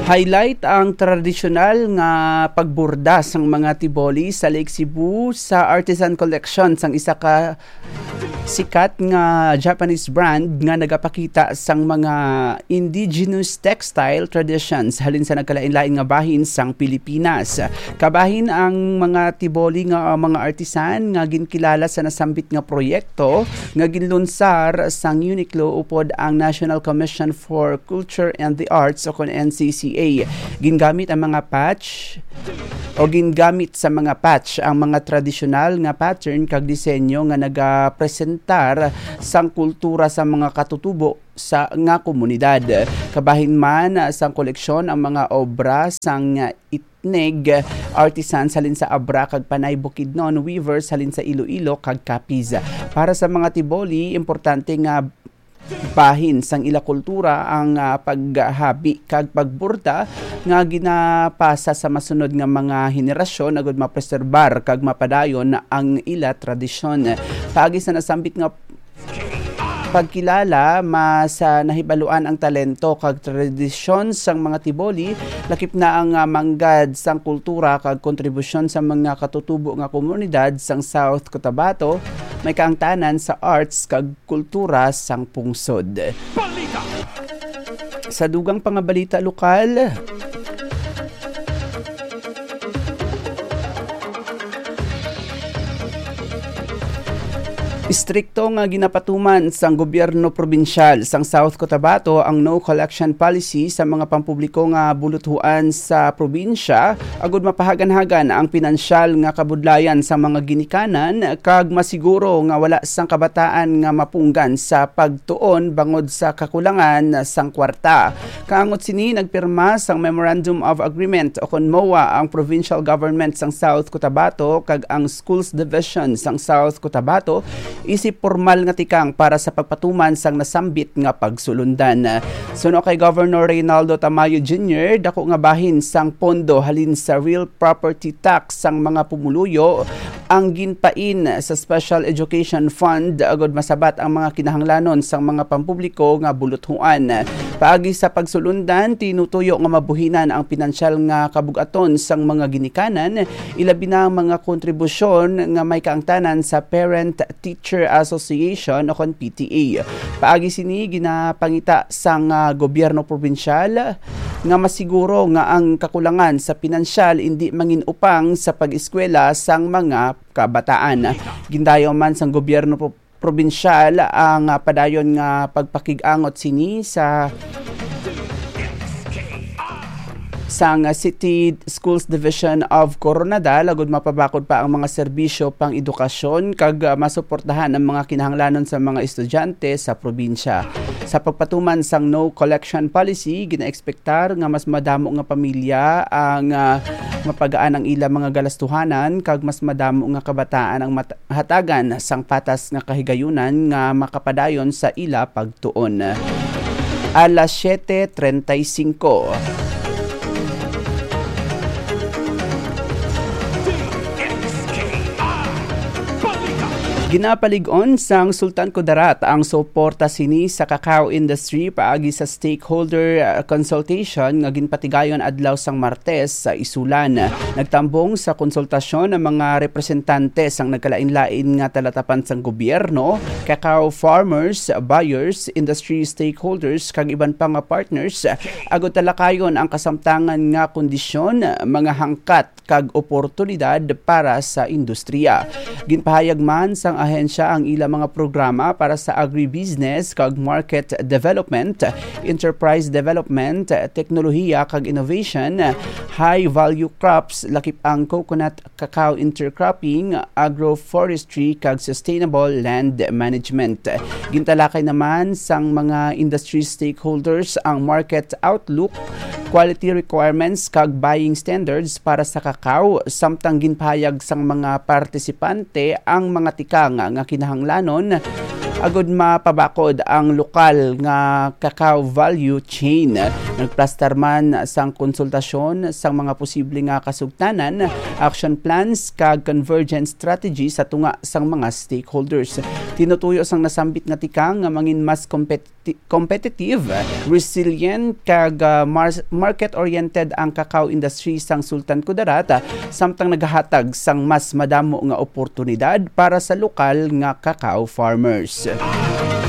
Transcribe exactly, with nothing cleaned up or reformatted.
Highlight ang tradisyonal nga pagburda sang mga tiboli sa Lake Cebu sa Artisan Collection sang isa ka sikat nga Japanese brand nga nagapakita sang mga indigenous textile traditions halin sa nagkalain-lain nga bahin sang Pilipinas. Kabahin ang mga tiboli nga, uh, mga artisan nga ginkilala sa nasambit nga proyekto nga ginlunsar sang Uniqlo upod ang National Commission for Culture and the Arts o kon N C C A. Gingamit ang mga patch o gingamit sa mga patch ang mga tradisyonal nga pattern kag disenyo nga nagapresentar sang kultura sa mga katutubo sa nga komunidad. Kabahin man sang koleksyon ang mga obra sang ethnic artisans halin sa Abra kag Panay Bukidnon, weavers halin sa Iloilo kag Capiz. Para sa mga tiboli, importante nga bahin sang ila kultura ang, ah, paghabi kag pagburda nga ginapasa sa masunod nga mga henerasyon agud mapreserbar kag mapadayon ang ila tradisyon. Paagi sa nasambit nga pagkilala, mas, ah, nahibaluan ang talento kag tradisyon sang mga tiboli, lakip na ang, ah, manggad sang kultura kag kontribusyon sa mga katutubo nga komunidad sang South Cotabato, may kaangtanan sa arts kag kultura sang pungsod. Balita. Sa dugang pa nga balita lokal, istrikto nga ginapatuman sang gobyerno probinsyal sang South Cotabato ang no collection policy sa mga pampubliko nga buluthuan sa probinsya, agud mapahaganhagan ang pinansyal nga kabudlayan sa mga ginikanan kag masiguro nga wala sang kabataan nga mapunggan sa pagtuon bangod sa kakulangan sang kwarta. Kaangot sini, nagpirma sang Memorandum of Agreement o kon MOA ang provincial government sang South Cotabato kag ang Schools Division sang South Cotabato isip pormal nga tikang para sa pagpatuman sang nasambit nga pagsulundan. Suno kay Governor Reynaldo Tamayo Junior, dako nga bahin sang pondo halin sa real property tax sang mga pumuluyo ang ginpain sa Special Education Fund agud masabat ang mga kinahanglanon sang mga pampubliko nga buluthuan. Paagi sa pagsulundan, tinutuyo nga mabuhinan ang pinansyal nga kabug-aton sang mga ginikanan, ilabi na ang mga kontribusyon nga may kaangtanan sa Parent Teacher Association o kon P T A. Paagi sini, ginapangita sang, ah, gobyerno probinsyal nga masiguro nga ang kakulangan sa pinansyal indi mangin-upang sa pag-eskwela sang mga kabataan. Gindayaw man sang gobyerno pro-, probinsyal ang, ah, padayon nga pagpakig-angot sini sa sang City Schools Division of Koronadal, agud mapabakod pa ang mga serbisyo pang-edukasyon kag, ah, masuportahan ang mga kinahanglanon sa mga estudyante sa probinsya. Sa pagpatuman sang no collection policy, ginaekspektar nga mas madamo nga pamilya ang, ah, mapagaan ang ila mga galastuhanan kag mas madamo nga kabataan ang mat-, hatagan sang patas nga kahigayunan nga makapadayon sa ila pagtuon. Alas siete treinta y cinco. Ginapalig-on sang Sultan Kudarat ang suporta sini sa cacao industry paagi sa stakeholder, uh, consultation nga ginpatigayon adlaw sang Martes sa Isulan. Nagtambong sa konsultasyon ang mga representante sang nagkalain-lain nga talatapan sang gobyerno, cacao farmers, buyers, industry stakeholders, kag iban pa nga partners, agud talakayon ang kasamtangan nga kondisyon, mga hangkat, kag oportunidad para sa industriya. Ginpahayag man sang ahensya ang ila mga programa para sa agribusiness kag market development, enterprise development, teknolohiya kag innovation, high value crops, lakip ang coconut, cacao intercropping, agroforestry, kag sustainable land management. Gintalakay naman sang mga industry stakeholders ang market outlook, quality requirements, kag buying standards para sa cacao, samtang ginpahayag sang mga partisipante ang mga tikang nga kinahanglanon agud mapabakod ang lokal nga cacao value chain. Nagplastar man sang konsultasyon sang mga posible nga kasugtanan, action plans, kag convergence strategy sa tunga sang mga stakeholders. Tinutuyo sang nasambit nga tikang nga mangin mas kompeti-, competitive, resilient, kag, ah, mar-, market-oriented ang cacao industry sang Sultan Kudarat, ah, samtang nagahatag sang mas madamo nga oportunidad para sa lokal nga cacao farmers.